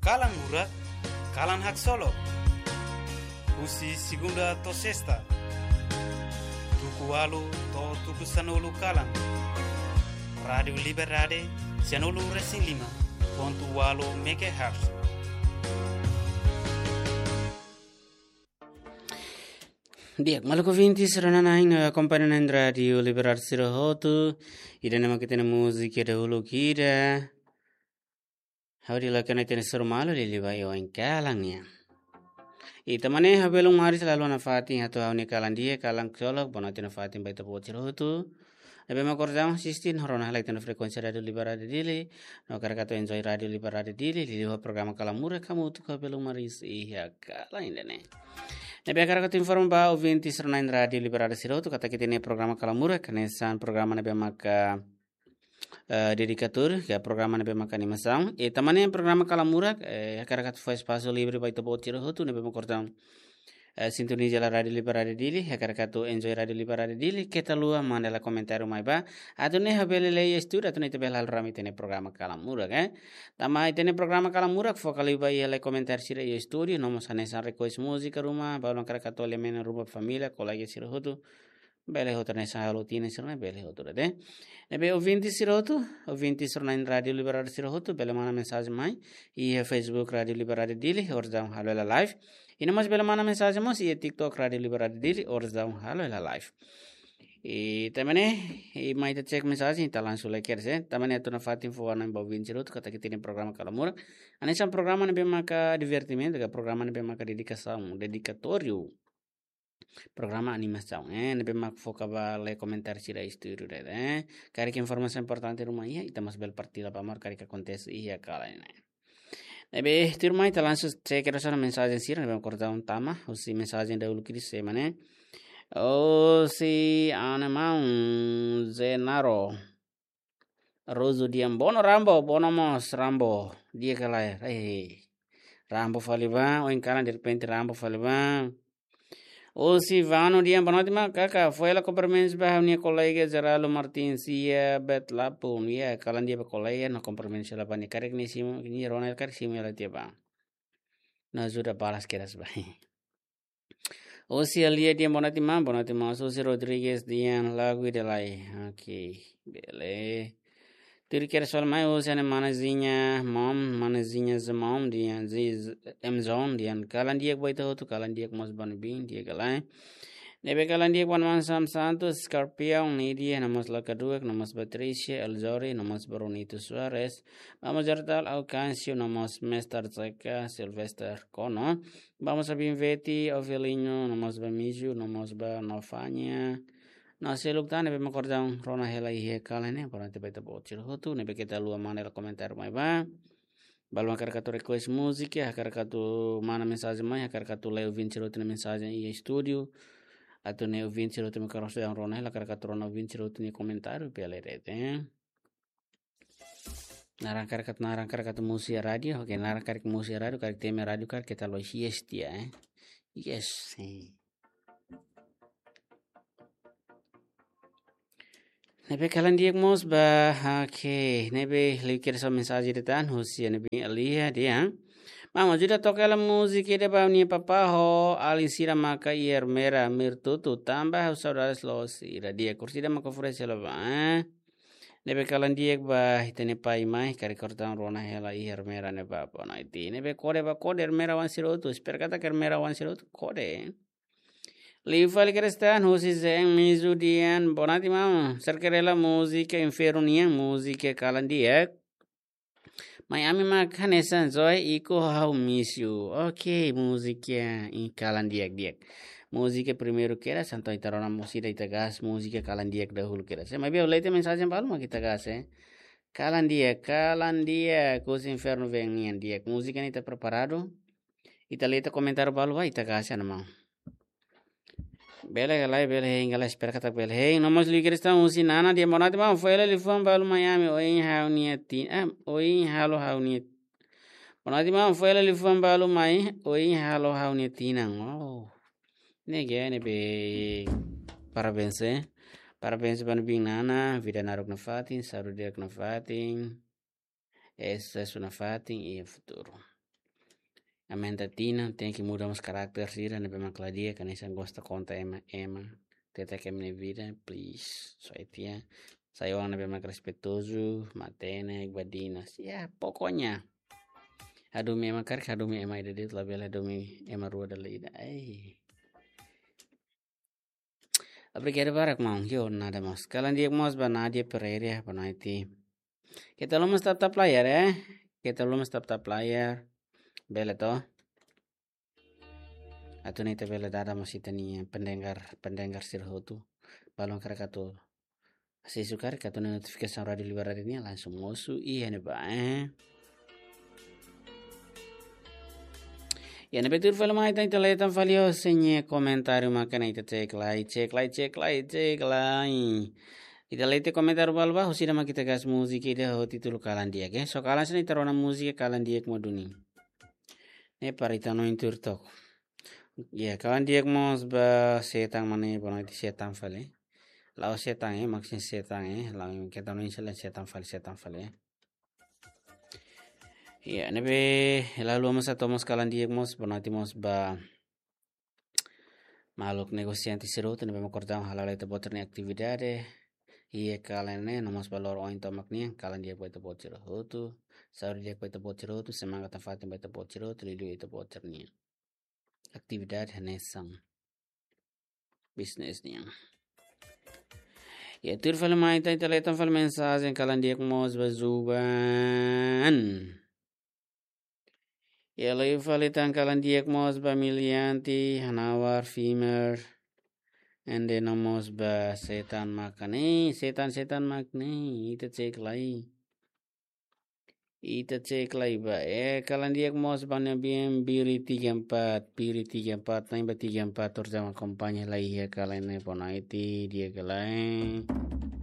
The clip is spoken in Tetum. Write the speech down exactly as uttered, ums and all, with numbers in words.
Kalan Murak, kalan haksolok. Husi segunda to'o sesta, tuku ualu to'o tuku sanulu kalan. Rádiu Liberdade, sianulu resin lima pontu ualu megahertz. Di'ak, maluk ouvinte sira-nia akompañamentu Rádiu Liberdade sira hotu. Ida-ne'e mak ita-nia múzika dahuluk ida. Ha'u dehan katak ita-nia suru malu liuliu ba oin kalan nian. Ita mane ha'u belun maris lalu nafatin atu ha'u-nia kalan di'ak, kalan haksolok, bonoite nafatin ba ita-boot sira hotu. Ne'ebé mak kordang asiste no rona hela ita-nia frekuénsia Rádiu Liberdade Dili. No hakarak atu enjoy Rádiu Liberdade Dili, liuliu ho programa Kalan Murak hamutuk ho belun maris iha kalan ida-ne'e. Ne'ebé hakarak atu informa ba ouvinte sira-nia Rádiu Liberdade sira hotu katak ita-nia programa Kalan Murak, hanesan programa ne'ebé maka eh, dedikatóriu, ke programa ne'ebé maka animasaun. Ita mane programa Kalan Murak, eh, hakarak atu fó espasu livre ba ita-boot sira hotu ne'ebé mak kordang, eh, sintoniza hela Rádiu Liberdade Dili, hakarak atu enjoy Rádiu Liberdade Dili, keta haluha manda hela komentáriu mai ba. Atu nune'e ha'u bele lee iha estúdiu, atu nune'e ita bele halo rame ita-nia programa Kalan Murak, eh. Tanba ita-nia programa Kalan Murak foka liu ba iha lee komentáriu sira iha estúdiu, no mós hanesan request múzika ruma, balu hakarak atu alemen ruma família, kolega sira hotu. Bele hotu hanesan halo tinan sira-ne'e bele hotu de'it. Ne'ebé ouvinte sira hotu, ouvinte sira-nia Rádiu Liberdade sira hotu, bele manda mensajen mai iha Facebook Rádiu Liberdade Dili, oras daudaun halo hela live. I no mós bele manda mensajen mós iha TikTok Rádiu Liberdade Dili, oras daudaun halo hela live. I tanba ne'e, i mai ita check mensajen, ita langsung lee kedas, eh. Tanba ne'e atu nafatin fó hanoin ba ouvinte sira hotu katak ita-nia programa Kalan Murak. Hanesan programa ne'ebé maka divertimentu, ka programa ne'ebé maka dedikasaun, dedikatóriu. Programa animasaun, eh, ne'ebé mak foka ba lee komentáriu sira iha estúdiu de'it, eh. Karik informasaun importante ruma iha, ita mós bele partilla ba maluk karik akontese iha kalan ne'e. Ne'ebé tuirmai ita langsung check kedas ona mensajen sira ne'ebé mak kordang tama, husi mensajen dahuluk ida sé mak ne'e. Husi ha'u-nia maun Zenaro Rosu dehan: "Bono Rambo, bono mós Rambo." Di'ak ka lae? Eh, Rambo fali ba, oin kalan derrepente Rambo fali ba. Husi Vano dehan: "Bonoite maun, karik fó hela kumprimentus ba ha'u-nia kolega Geraldo Martins iha Betlapun." Iha kalan di'ak ba kolega, no kumprimentus hela ba nia, karik nia simu, nia rona karik simu hela tiha ba. No ajuda balas kedas ba. Husi Alia dehan: "Bonoite maun, bonoite maun." Husi Rodrigues dehan: "Lagu ida lai." Oke, bele. Tuir kedas fali mai husi ha'u-nia mana Zinha Mom, mana Zinha Zemom dehan, Zi-, M Zone dehan: "Kalan di'ak ba ita hotu, kalan di'ak mós ba ne'ebé, di'ak ka lae?" Ne'ebé kalan di'ak ba maun Sam Santos, Scorpion, Nidia, no mós Lakaduak, no mós Patricia, Elzori, no mós Brunito Soares, Mama Jortal, Alcancio, no mós Mester Zeka, Sylvester Kono, ba mós Abin Veti, Ovelinho, no mós ba Miju, no mós ba Nofanya. No seluk tan ne'ebé mak kordang rona hela iha kalan ne'e, bonoite ba ita-boot sira hotu, ne'ebé keta haluha manda hela komentáriu mai ba. Balu hakarak atu request múzika, hakarak atu manda mensajen mai, hakarak atu lee ouvinte sira hotu nia mensajen iha estúdiu. Atu nune'e ouvinte sira hotu mak kordang rona hela, hakarak atu rona ouvinte sira hotu nia komentáriu, bele de'it, eh. Naran karik atu, naran karik atu mosu iha rádiu, oke, naran karik mosu iha rádiu, karik temi rádiu, karik keta haluha yes tiha, eh. Yes, eh. Ne'ebé kalan di'ak mós ba, oke, ne'ebé liu kedas mensajen ida tan, husi ha'u-nia biin Alia dehan: "Maun, ajuda toka hela múzika ida ba ha'u-nia papá ho alin sira maka iha Ermera, Mirtutu, tanba ha'u saudades loos sira." Di'ak, orsida maka oferese hela ba, eh. Ne'ebé kalan di'ak ba ita-nia pai mai, karik kordang rona hela iha Ermera ne'ebá, bonoite. Ne'ebé kode ba kode Ermera oan sira hotu, espera katak Ermera oan sira hotu kode. Liu fali kedas tan husi Zen Mizu dehan: "Bonoite maun, serke hela múzika Infernu nian, múzika kalan di'ak. Mai ami mak hanesan Zoe, Iko, Ha'u Miss You." Oke, múzika, eh, kalan di'ak, di'ak. Múzika primeiru kedas, entaun ita rona mós ida ita gas múzika kalan di'ak dahuluk kedas. Eh, maibé ha'u lee tiha mensajen balu mak ita gas, eh. Kalan di'ak, kalan di'ak, husi Infernu Veen nian di'ak. Múzika ne'e ita preparadu. Ita lee tiha komentáriu balu ba, ita gas ona maun. Bele ka lae, bele hein ka lae, espera katak bele hein. No mós liu kedas tan husi Nana dehan: "Bonoite maun, fó hela liafuan balu mai ami, oin halo ha'u-nia tin-, eh, oin halo ha'u-nia." Bonoite maun, fó hela liafuan balu mai, oin halo ha'u-nia tinan. Oh. Ne'e ke, ne'ebé parabéns, eh. Parabéns ba ha'u-nia biin Nana, vida naruk nafatin, saúde di'ak nafatin. Susesu nafatin iha futuru. Aumenta tinan, tenke muda mós karakter sira ne'ebé mak la di'ak, hanesan gosta konta ema, ema. Teta ke mene vida, please. So itia. Sai oan ne'ebé mak respeitozu, matenek, badinas. Ya, pokoknya. Hadomi ema karik, hadomi ema ida de'it, labele hadomi ema rua dala ida. Ai. Obrigadu barak, maun. Yo, nada mós. Kalan di'ak mós ba Nadia Pereira, boa noite. Keta haluha mós tap tap layar, eh? Keta haluha mós tap tap layar. Bele to? Atu nune'e ita bele dada mós ita-nia pendengar, pendengar sira hotu. Balun karik atu, se sukar atu nune'e notifikasaun Rádio Liberdade nian langsung mosu iha ne'ebá, eh? Ya, ne'ebé tuir fali mai ita, ita leten fali ho sira-nia komentáriu maka ne'e ita cek lai, cek lai, cek lai, cek lai. Ita leten komentáriu balu ba, husi ida mak ita gas múzika ida ho títulu Kalan Di'ak, eh. So kalan sini ita rona múzika Kalan Di'ak mo duni. Ne'e para ita hanoin tuir tok. Ya, Kalan Di'ak mós ba Setan mane, boa noite Setan fali. La'ós Setan, eh, maksudnya Setan, eh. La'ós Setan, no insya Allah Setan fali, Setan fali, eh. Ya, ne'ebé la haluha mós atu mós Kalan Di'ak mós, boa noite mós ba maluk negosiante sira hotu ne'ebé mak kordau hala'o lai ita-boot nia atividade. Iha kalan ne'e, no mós ba loron ohin tomak nian, Kalan Di'ak ba ita-boot sira hotu. Saúde di'ak ba ita-boot sira hotu, semangat nafatin ba ita-boot sira hotu, liuliu ita-boot sira-nia atividade hanesan bisnis nian. Ya, tuir fali mai ita, ita leten fali mensajen Kalan Di'ak mós ba Zuban. Ya, liu fali tan Kalan Di'ak mós ba Milianti, Hanawar, Fimer, ende no mós ba Setan mak ne'e, Setan, Setan mak ne'e, ita cek lai. Ita cek lai ba, eh, Kalan Di'ak mós ba Nabian Biri tiga empat, Biri tiga empat, na'in ba tiga empat, terus sama kompanya lai iha kalan ne'e, boa noite, di'ak ka lae.